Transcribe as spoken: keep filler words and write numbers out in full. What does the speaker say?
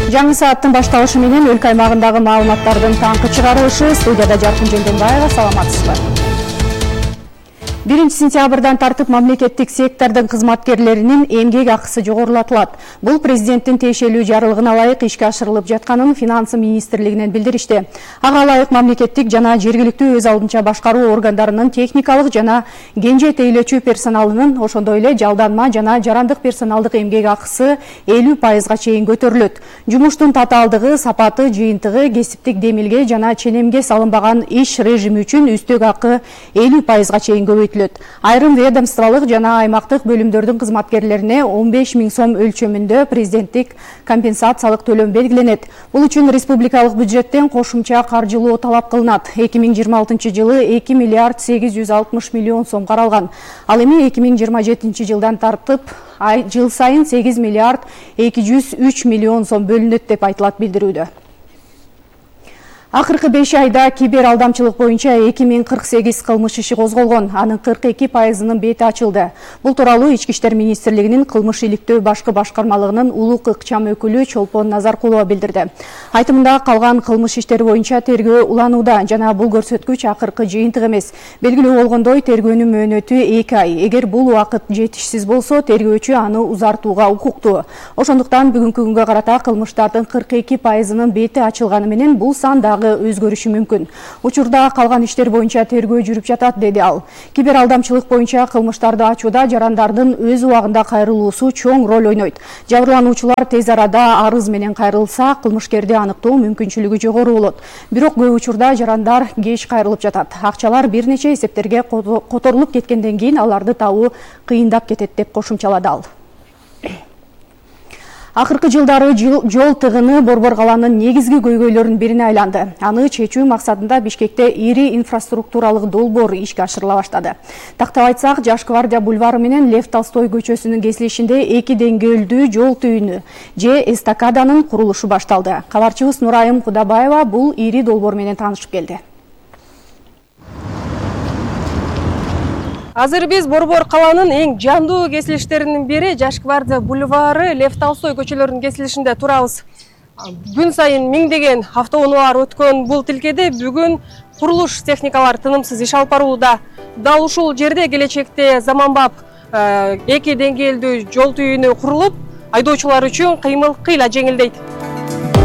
Жаңы сааттын башталышы менен өлкө аймагындагы маалыматтардын таңкы чыгарылышы. Студияда Жаркын Жолдонбаева, саламатсызбы? биринчи сентябрдан тартып мамлекеттик сектордун кызматкерлеринин эмгек акысы жогорулатылат. Бул президенттин тиешелүү жарлыгына ылайык ишке ашырылып жатканын Финансы министрлигинен билдиришти. Ага ылайык мамлекеттик жана жергиликтүү өз алдынча башкаруу органдарынын техникалык жана кенже тейлөөчү персоналынын, ошондой эле жалданма жана жарандык персоналдык эмгек акысы элүү пайызга чейин көтөрүлөт. Жумуштун татаалдыгы, сапаты, жыйынтыгы, кесиптик демилге жана ченемге салынбаган иш режими үчүн үстөк акы элүү пайызга чейин көбөйтүлөт. Айрым ведомстволук жана аймактык бөлүмдөрдүн кызматкерлерине он беш миң сом өлчөмүндө президенттик компенсациялык төлөм белгиленет. Бул үчүн республикалык бюджеттен кошумча каржылоо талап кылынат. эки миң жыйырма алтынчы жылы эки миллиард сегиз жүз алтымыш миллион сом каралган. Ал эми эки миң жыйырма жетинчи жылдан тартып ай жыл сайын сегиз миллиард эки жүз үч миллион сом бөлүнөт деп айтылат билдирүүдө. Акыркы беш айда кибер алдамчылык боюнча эки миң кырк сегиз кылмыш иши козголгон. Анын кырк эки пайызынын бети ачылды. Бул тууралуу Ички иштер министрлигинин кылмыш иликтөө башкы башкармалыгынын улук ыкчам өкүлү Чолпон Назаркулова билдирди. Айтымында калган кылмыш иштери боюнча тергөө уланууда жана бул көрсөткүч акыркы жыйынтык эмес. Белгилүү болгондой, тергөөнүн мөөнөтү эки ай. Эгер бул убакыт жетишсиз болсо, тергөөчү аны узартууга укуктуу. Ошондуктан бүгүнкү күнгө карата кылмыштардын кырк эки пайызынын бети ачылганы менен бул сан өзгөрүшү мүмкүн. Учурда калган иштер боюнча тергөө жүрүп жатат, деди ал. Кибер алдамчылык боюнча кылмыштарды ачууда жарандардын өз убагында кайрылуусу чоң роль ойнойт. Жабырлануучулар тез арада арыз менен кайрылса, кылмышкерди аныктоо мүмкүнчүлүгү жогору болот. Бирок көп учурда жарандар кеч кайрылып жатат. Акчалар бир нече эсептерге которулуп кеткенден кийин аларды табуу кыйындап кетет деп кошумчалады ал. Акыркы жылдары жол тыгыны Борбор калаанын негизги көйгөйлөрүнүн бирине айланды. Аны чечүү максатында Бишкекте ири инфраструктуралык долбоор ишке ашырыла баштады. Тактап айтсак, Жаш Гвардия бульвары менен Лев Толстой көчөсүнүн кесилишинде эки деңгээлдүү жол түйүнү же эстакаданын курулушу башталды. Кабарчыбыз Нурайым Кудабаева бул ири долбоор менен таанышып келди. Азыр биз Борбор калаанын эң жандуу кесилиштеринин бири Жаш Гвардия бульвары Лев Толстой көчөлөрүнүн кесилишинде турабыз. Күн сайын миңдеген автоунаалар өткөн бул тилкеде бүгүн курулуш техникалары тынымсыз иш алып барууда. Дал ушул жерде келечекте заманбап эки деңгээлдүү жол түйүнү курулуп, айдоочулар үчүн кыймыл кыйла жеңилдейт.